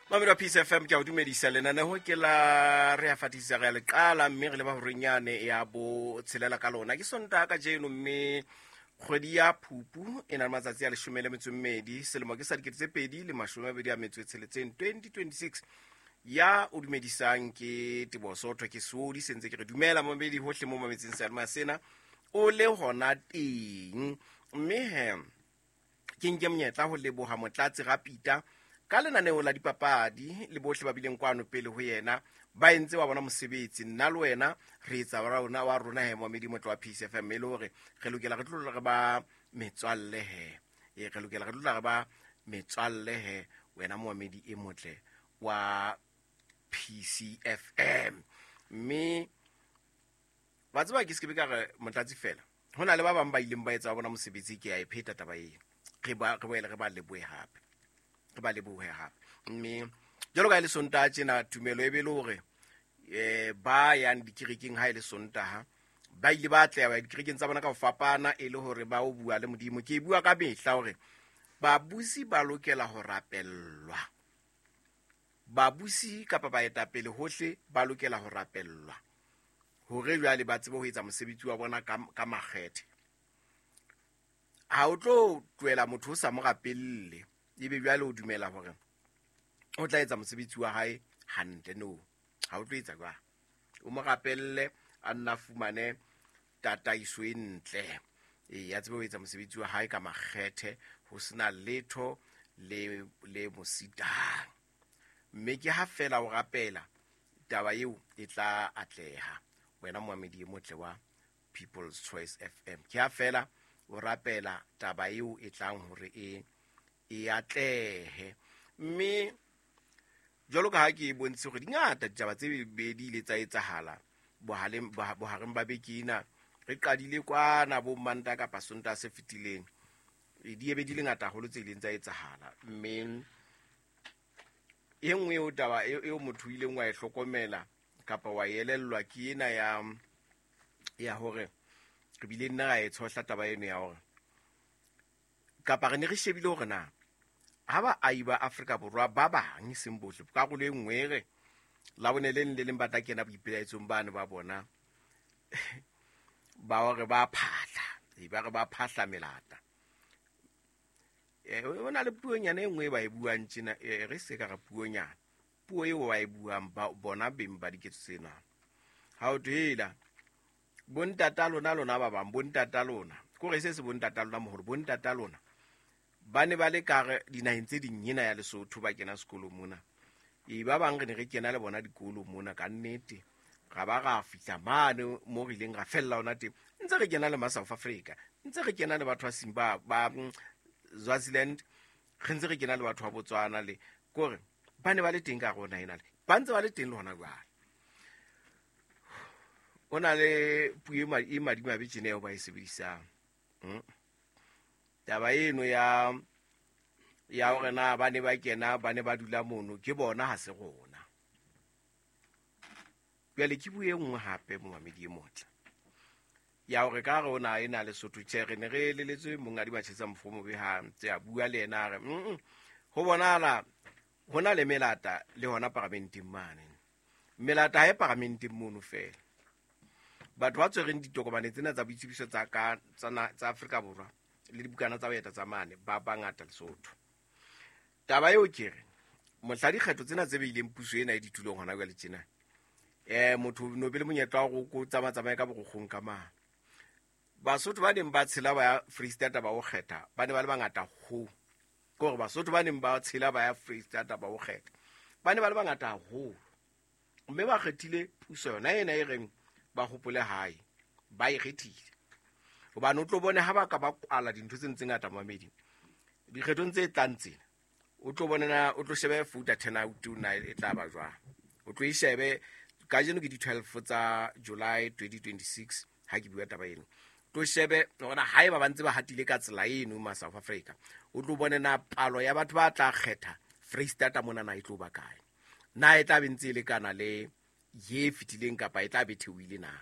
Mamedi wa Peace FM, ke a o dumedisa. Lenaneo ke la Re a Fatisa, re a le qala mme re leba horenyane ya bo tshelela ka lona. Ke Sontaha kajeno mme kgwedi ya Phupu e na le matsatsi a 12, selemo ke sa 2026, 2026. Ya o dumedisang ke Teboho Sotho, ke Sodi sentse ke re dumela mamedi hohle mo mametseng seyalemoya sena o le hona teng. Mme he ke nke monyetla ho leboha Motlatsi Rapita ka lenaneo la dipapadi le bohle ba bileng kwano pele ho yena ba entse wa bona mosebetsi. Nna le wena re etsa wa rona wa rona he momedi motlo wa Peace FM, e le hore re lokela re tlo re ba metswalle he, e re lokela re tlo re ba metswalle he wena moamedi e motle wa PCFM. Mme wa tseba ke se ke be ka re Motlatsi fela, ho na le ba bang ba ileng ba etsa wa bona mosebetsi. Ke a e pheta taba eo, re ba re boele re ba lebohe hape, re ba lebohe hape. Mme jwalo ka e le Sontaha tjena, tumelo e be le hore ba yang dikerekeng ha e le Sontaha ba ile ba atleha ba ya dikerekeng tsa bona ka ho fapana, e le hore ba o bua le Modimo. Ke e bua ka mehla hore babusi ba lokela ho rapellwa, babusi kapa baetapele hohle ba lokela ho rapellwa hore jwale ba tsebe ho etsa mosebetsi wa bona ka makgethe. Ha o tlo tlohela motho o sa mo rapelle ebe jwale o dumela hore o tla etsa mosebetsi wa hae hantle. No, ha o tlo etsa jwang. O mo rapelle a nna fumane tataiso e ntle, e ya tsebe ho etsa mosebetsi wa hae ka makgethe, ho sena letho le mositang. Mme ke ha fela o rapela, taba eo e tla atleha. Wena moamedi e motle wa People's Choice FM, ke ha fela o rapela taba eo e tlang hore e atlehe. Mme jwalo ka ha ke bontshe hore di ngata ditaba tse bedi ile tsa etsahala bohareng ba beke ena, re qadile kwana bo Manta kapa Sontaha se fetileng, di ebe di le ngata haholo tse ileng tsa etsahala. Mme e nngwe eo taba eo motho o ileng wa e hlokomela kapa wa elellwa ke ena ya hore re bile nna ra e tshohla taba eno ya hore kapa re ne re shebile hore na ha baahi ba Afrika Borwa ba bang, e seng bohle, karolo e nngwe e re Labone le leng le leng ba tla kena boipelaetsong bane ba bona ba hore ba phahla, ba re ba phahla melata. O na le puonyana e nngwe e ba e buang tjena, re se ka re puonyana, puo eo ba e buang ba bona beng ba diketso tsena. Ha o thwela bontata lona, lona ba bang, bontata lona, kore se se bontata lona moholo, bontata lona ba ne ba le ka dinaheng tse ding ena ya Lesotho, ba kena sekolo mona. E ba bang re ne re kena le bona dikolo mona ka nnete, ra ba ra fihla mane mo re ileng ra fella ona teng, ntse re kena le ma South Africa, ntse re kena le batho ba Simba ba Swaziland, re ntse re kena le batho ba Botswana, le kore ba ne ba le teng ka rona ena, le ba ntse ba le teng le hona jwale. O na le puo e madimabe tjena eo ba e sebedisang. Taba eno ya hore na ba ne ba kena, ba ne ba dula mono, ke bona ha se rona. Jwale ke bue e nngwe hape momamedi e motle ya hore ka re o na e na Lesotho, tjhe, re ne re eleletswe Monghadi Matjhesa Mofomobe ha ntse a bua le yena, a re ho bonahala ho na le melata le hona paramenteng mane. Melata ha e paramenteng mono fela. Batho ba tshwereng ditokomane tsena tsa boitsebiso tsa ka tsa Afrika Borwa le dibukana tsa ho eta tsa mane ba bangata Lesotho. Taba eo ke re mohla dikgetho tsena tse beileng puso ena e ditulong hona jwale tjena, motho no be le monyetla wa go tsamaya ka borokgong ka mane. Basotho ba neng ba tshela ba ya Freistata ba o kgetha ba ne ba le bangata ho. Ke hore Basotho ba neng ba tshela ba ya Freistata ba o kgetha ba ne ba le bangata haholo. Mme ba kgethile puso yona ena e reng ba hopole hae, ba e kgethile. Hobane o tlo bone ha ba ka ba kwala dintho tse ntse ngata mamedi dikgethong tse tlang tsena, o tlo bone na o tlo shebe voter turnout na e tla ba jwang. O tlo e shebe kajeno ke di 12 tsa July 2026 ha ke bua taba eno. O tlo shebe hore na haeba ba ntse ba hatile ka tsela eno ma South Africa, o tlo bone na palo ya batho ba tla kgetha Freistata mona na e tlo ba kae, na e tla be ntse e lekana le ye fetileng kapa e tla be theohile na.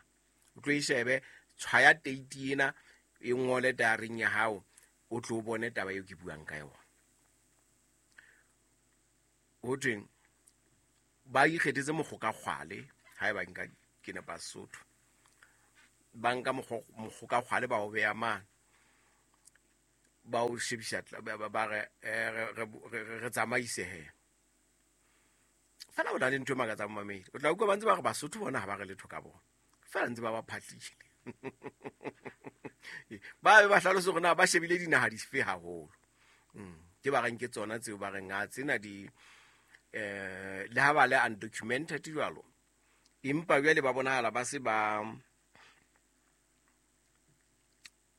O tlo e shebe, tshwaya date ena e ngole diaring ya hao, o tlo bone taba eo ke buang ka yona. Ho thweng Ba ikgethetse mokgoka kgwale ha eba nka ke nepa Sesotho. Ba nka mokgoka kgwale ba o beya mane. Ba o shebisa ba re re tsamaise he. Fela o na le ntho e makatsang mamedi. O tla utlwa ba ntse ba re Basotho bona ha ba re letho ka bona. Fela ntse ba ba phatlile. Ba be ba hlalose hore na ba shebile dinaha dife haholo. Ke ba reng ke tsona tseo ba reng a tsena di le ha ba le undocumented jwalo. Empa jwale ba bonahala ba se ba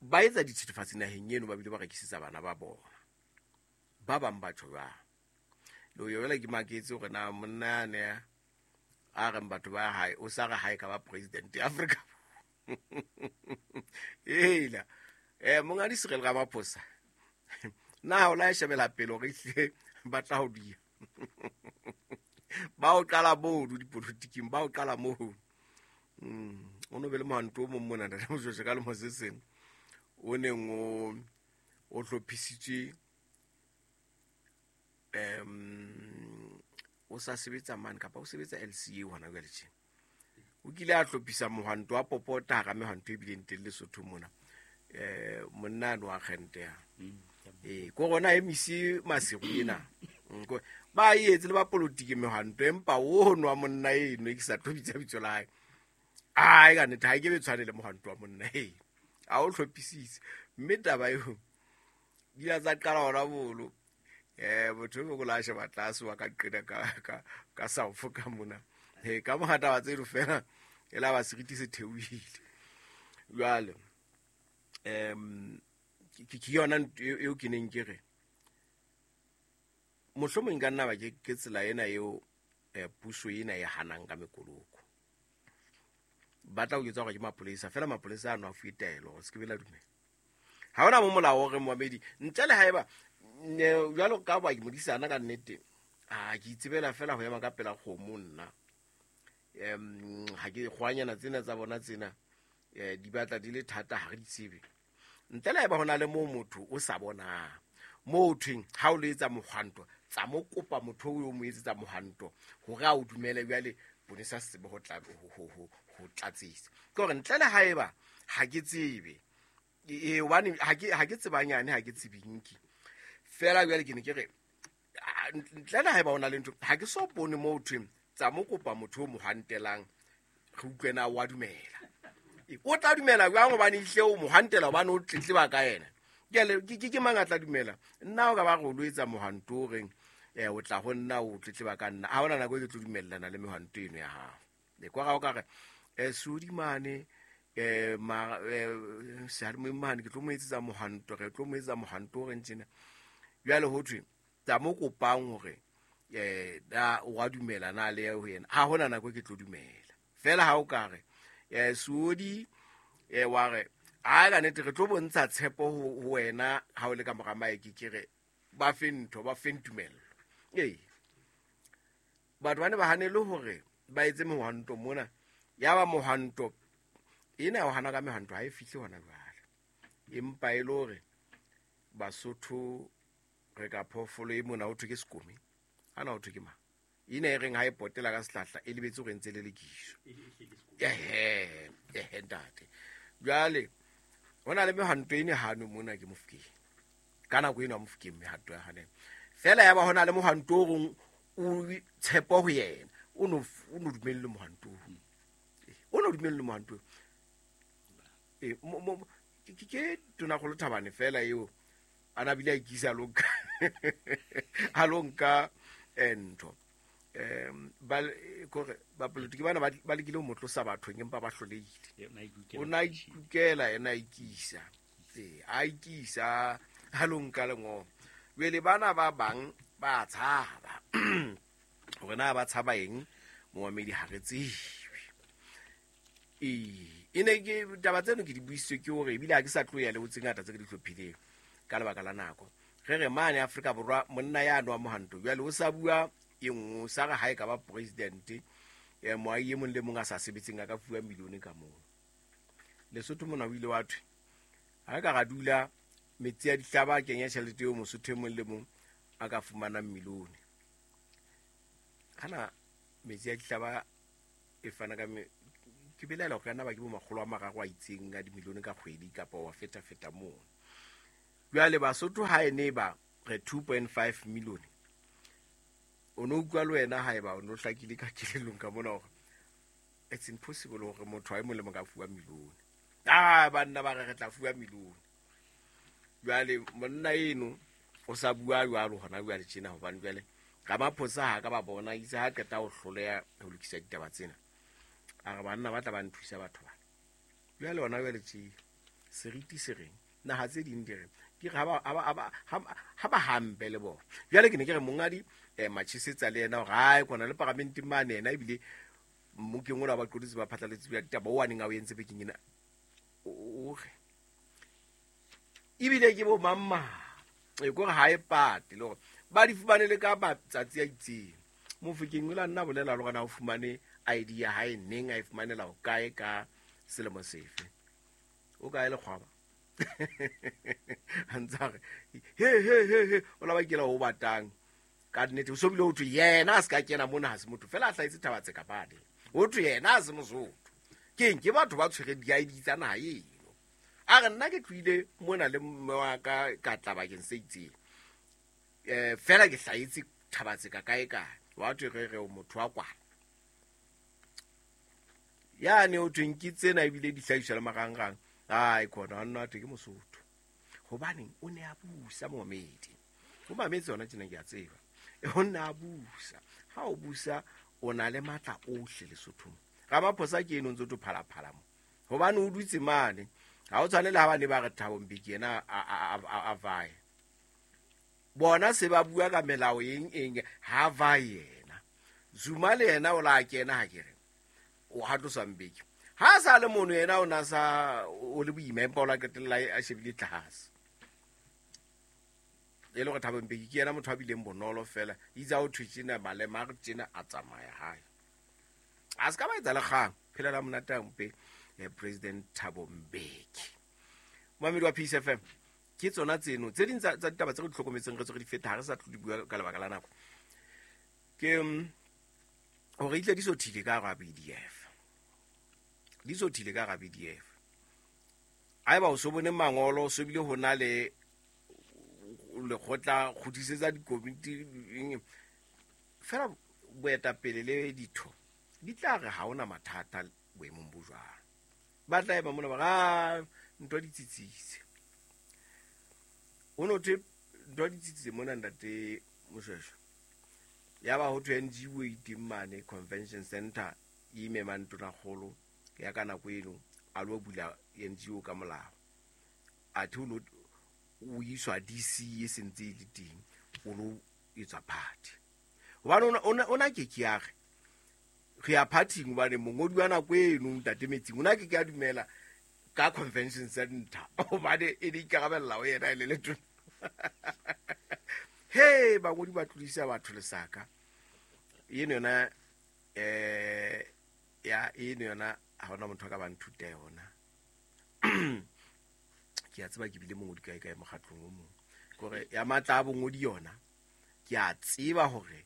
ba etsa dithethefatsi naheng eno, ba bile ba rekisetsa bana ba bona. Ba bang ba tjho jwang. Le ho jwale ke maketse hore na monna yane a reng batho ba hae o sa re hae ka ba president ya Afrika. Ela mongadi Cyril Ramaphosa na o la shebela pele hore ehlile ba tla ho dia. Ba o qala mono dipolotiking, ba o qala mono. O no be le mohanto o mong mona ntate Moshoeshoe ka lemo se seng o neng o hlophisitswe o sa sebetsa mane kapa o sebetsa LCA hona jwale tje. O kile a hlophisa mohwanto wa popota hara mehwanto e bileng teng Lesotho mona. Monna a no akgente ya. Ko rona emise Maseru ena. Ba e etse le ba politiki mehwanto empa o nwa monna eno ke sa tlo bitsa bitso la hae. Ai ka nnete ha ke be tshwane le mohwanto wa monna eno. A o hlophisitse. Mme taba eo di a tsa qala hona bolo. Motho e mong o la sheba tlase wa ka qena ka South ka mona. Ka mora taba tseno fela e la ba seriti se theohile. Jwale ke yona eo ke neng ke re mohlomong ka nna ba ke tsela ena eo puso ena e hanang ka mekoloko. Ba tla o jwetsa hore ke mapolesa fela, mapolesa ano a fuwe taelo hore se ke be la dumela. Ha hona mo molao o re moamedi ntle le haeba jwalo ka ba ke modisana ka nnete, a ke itsebela fela ho ema ka pela kgomo nna. Ha ke kgwanyana tsena tsa bona tsena di batla di le thata, ha re di tsebe. Ntle le haeba hona le moo motho o sa bonang, moo thweng ha o le etsa mohwanto, tsa mo kopa motho o mo etsetsa mohwanto hore a o dumele jwale ponesa se tsebe ho tla ho tlatsisa. Ke hore ntle le haeba ha ke tsebe, hobane ha ke tsebanyane, ha ke tsebinki. Fela jwale ke ne ke re ntle le haeba hona le ntho, ha ke so bone moo thweng tsa mo kopa motho o mo hantelang, re utlwe na wa dumela. O tla dumela jwang hobane ehlile o mo hantela, hobane o tletleba ka yena. Ke mang a tla dumela? Nna o ka ba re o lo etsa mohwanto o reng o tla ho nna o tletleba ka nna. Ha hona nako e ke tlo dumellana le mehwanto eno ya hao. Le kwa ga o ka re Sodi mane seyalemoyeng mane ke tlo mo etsetsa mohwanto, re tlo mo etsetsa mohwanto o reng tjena. Jwale ho thwe tsa mo kopang hore na o a dumela na le ho yena. Ha hona nako ke tlo dumela. Fela ha o ka re Sodi wa re a ka nnete re tlo bontsha tshepo ho wena ha o le ka mora maeke, ke re ba fe ntho, ba fe tumello. Batho ba ne ba hanele hore ba etse mohwanto mona. Ya ba mohwanto ena o hana ka mehwanto ha e fihle hona jwale. Empa e le hore Basotho re ka phoofolo e mona ho thwe ke sekome, ana ho thwe ke mang? Ena e reng ha e potela ka sehlahla e lebetse hore ntse le lekiso. Ehe ntate. Jwale hona le mehwanto ene hano mona ke Mofokeng. Ka nako eno ya Mofokeng mehwanto ya hane. Fela ya ba hona le mohwanto o reng o tshepo ho yena. O no dumelle mohwanto o. O no dumelle mohwanto. Ke Tonakgolo Thabane fela eo ana bile a ikisa a lo nka ntho. Ba kore ba politiki bana ba lekile ho mo tlosa bathong empa ba hlolehile. O na ikukela yena a ikisa. A ikisa ha lo nka lengolo. Jwale bana ba bang ba tshaba. Hore na ba tshaba eng momamedi ha re tsebe. E ne ke taba tseno ke di buisitswe ke hore ebile ha ke sa tlo ya le ho tse ngata tse ke di hlophileng ka lebaka la nako. Re re mane Afrika Borwa monna ya nwa mohwanto jwale o sa bua e nngwe, sa re ha e ka ba president moahi e mong le mong a sa sebetseng a ka fuwa milione ka moo. Lesotho mona o ile wa thwe ha ka ra dula metsi a dihlaba a kenya tjhelete eo Mosotho e mong le mong a ka fumanang milione. Kana Metsi a Dihlaba e fana ka ke belaela hore ka nna ba ke bo makgolo a mararo a itseng a dimilione ka kgwedi kapa wa feta-feta moo. Jwale Basotho ha e ne ba re 2.5 million, o no utlwa le wena haeba o no hlakile ka kelellong ka mona hore it's impossible hore motho a e mong le mong ka fuwa milione. Ah, banna ba re re tla fuwa milione. Jwale monna eno o sa bua jwalo hona jwale tjena, hobane jwale Ramaphosa ha ka ba bona itse ha qeta ho hloleha ho lokisa ditaba tsena, a re banna ba tla ba nthusa batho bana. Jwale hona jwale tje seriti se reng, naha tse ding di re di re ha ba hampe le bona. Jwale ke ne ke re mongadi Machesetsa le yena hore hae kona le paramenteng mane yena, ebile mmokeng ona wa baqolotsi ba phatlalatsi ba ditaba o a neng a o entse bekeng ena, o re ebile ke bo mang mang, e kore ha e pate le hore ba di fumane le ka matsatsi a itseng. Mofokeng o la nna bolela le hore na o fumane ID ya hae neng, a e fumanela ho kae ka selemo sefe. O kae lekgwaba? A ntse a re, he, he, he, he, o la ba kela ho batang. Ka nnete, o so bile ho thwe yena a se ka kena mona, ha se motho fela a hlahetse thaba tse kapane. Ho thwe yena a se Mosotho. Keng ke batho ba tshwereng di-I D tsa naha eno. A re nna ke tlohile mona le mme wa ka, ka tla bakeng se itseng. Fela ke hlahetse thaba tse ka kae kae. Wa thwe re re o motho wa kwana. Yane ho thweng ke tsena ebile di hlahiswa le marangrang. Ai, khona, nna thwe ke Mosotho. Hobaneng o ne a busa momedi. O mametse hona tjena ke a tseba. O ne a busa. Ha o busa o na le matla ohle Lesothong. Ramaphosa ke eno ntse o phalaphala mo. Hobane o dutse mane. Ha o tshwane le ha ba ne ba re Thabo Mbeki yena a vaye. Bona se ba bua ka melao eng eng, ha vaye yena. Zuma le yena o la kena ha ke re. O ha tlosa Mbeki. Ha sa le mono yena o na sa o le boima, empa o la qetella a shebile tlase. E le hore Thabo Mbeki ke yena motho a bileng bonolo fela. Itse ha o thwe tjena, malema a re tjena, a tsamaya hae. A se ka ba etsa le kgang. Phela la monate a mpe, President Thabo Mbeki. Momamedi wa Peace FM, ke tsona tseno tse ding tsa ditaba tse re di hlokometseng, re tswe re di feta, ha re sa tlo di bua ka lebaka la nako. Ke hore itle di sothile ka hara BDF. Di sothile ka hara BDF. Haeba o so bone mangolo, o so bile ho na le lekgotla kgutlisetsa dikomiti, fela boetapele le ditho di tla re ha hona mathata boemong bo jwalo. Ba tla ema mona ba re, ah, ntwa di tsitsitse. Ho no thwe ntwa di tsitsitse mona ntate Moshweshwe. Ya ba ho thwe NGO e teng mane convention center e imemang tonakgolo ya ka nako eno a lo bula NGO ka molao. Athe o lo o iswa DC e sentse e le teng, o lo etswa party. Hobane ona ke ke ya re, re ya party-ing hobane mongodi wa nako eno ntate Metsing o na ke ke a dumela ka convention center hobane e ne ikarabella ho yena e le letona. He, bangodi ba tlodisa batho lesaka. Eno yona, ya, eno yona ha hona motho a ka ba nthuta yona. Ke a tseba ke bile mongodi kae kae mokgatlong o mong. Kore ya matla a bongodi yona, ke a tseba hore,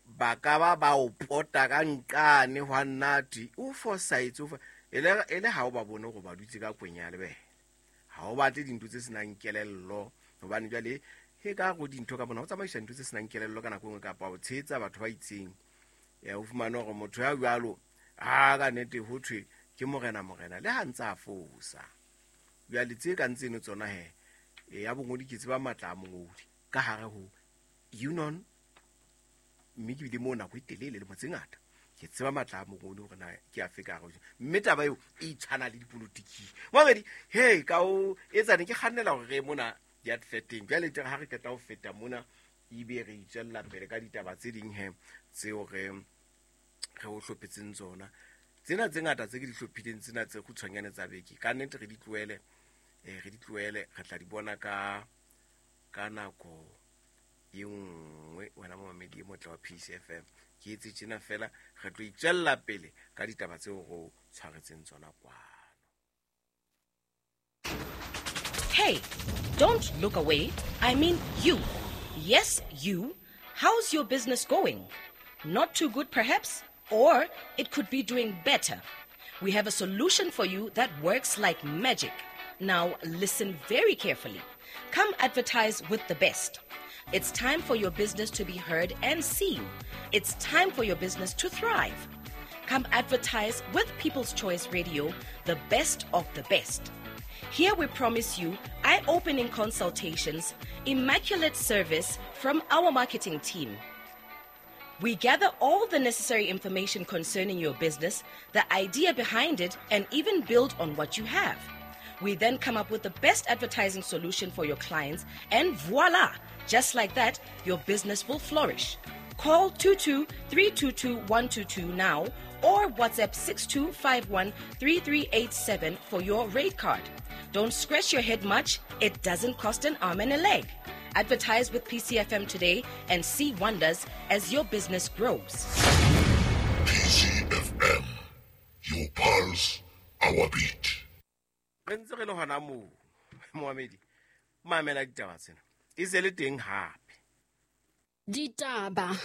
ba ka ba ba o pota ka nqane hwa nnate, o fosaetse, o e le, e le ha o ba bone hore ba dutse ka kwenya ya lebele. Ha o batle dintho tse senang kelello, hobane jwale he ka go dintho ka bona, o tsamaisa dintho tse senang kelello ka nako e nngwe kapa o tshehetsa batho ba itseng. O fumane hore motho ya jwalo, ha ka nnete ho thwe ke morena, morena, le ha ntse a fosa. Jwale tse kang tseno tsona he, ya bongodi ke tseba matla a mongodi ka hare ho union, mme ke bile moo nako e telele lemo tse ngata. Ke tseba matla a mongodi hore na ke afe ka hare ho mme taba eo e tshwana le dipolotiking. Momedi, he, ka o etsa ne ke kgannela hore re mona di-adverteng. Jwale tere ha re qeta ho feta mona, ebe re itswella pele ka ditaba tse ding he tseo re o hlophetseng tsona. Tsena tse ngata tse ke di hlophileng tsena tse kgutshwanyane tsa beke, ka nnete re di tlohele, re di tlohele, re tla di bona ka nako e nngwe. Wena momamedi e motle wa Peace FM, ke etse tjena fela, re tlo itswella pele ka ditaba tseo re o tshwaretseng tsona kwano. Hey, don't look away. I mean you. Yes, you. How's your business going? Not too good, perhaps, or it could be doing better. We have a solution for you that works like magic. Now, listen very carefully. Come advertise with the best. It's time for your business to be heard and seen. It's time for your business to thrive. Come advertise with People's Choice Radio, the best of the best. Here we promise you eye opening consultations, immaculate service from our marketing team. We gather all the necessary information concerning your business, the idea behind it, and even build on what you have. We then come up with the best advertising solution for your clients, and voila! Just like that, your business will flourish. Call 22 322 122 now or WhatsApp 6251 3387 for your rate card. Don't scratch your head much, it doesn't cost an arm and a leg. Advertise with PCFM today and see wonders as your business grows. PCFM, your pulse, our beat. Re ntse re le hona moo, moamedi, mamela ditaba tsena e se le teng hape. Ditaba.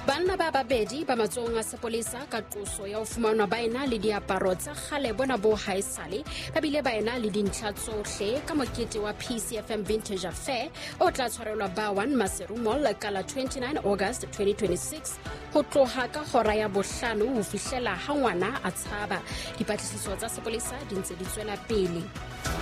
Banna ba babedi ba matsohong a sepolesa ka qoso ya ho fumanwa ba ena le diaparo tsa kgale bona bo haesale, ba bile ba ena le dintlha tsohle ka mokete wa PCFM Vintage Affair o tla tshwarelwa ba 1 Maseru Mall ka la 29 August 2026 ho tloha ka hora ya bohlano ho fihlela ha ngwana a tshaba. Dipatlisiso tsa sepolesa di ntse di tswela pele.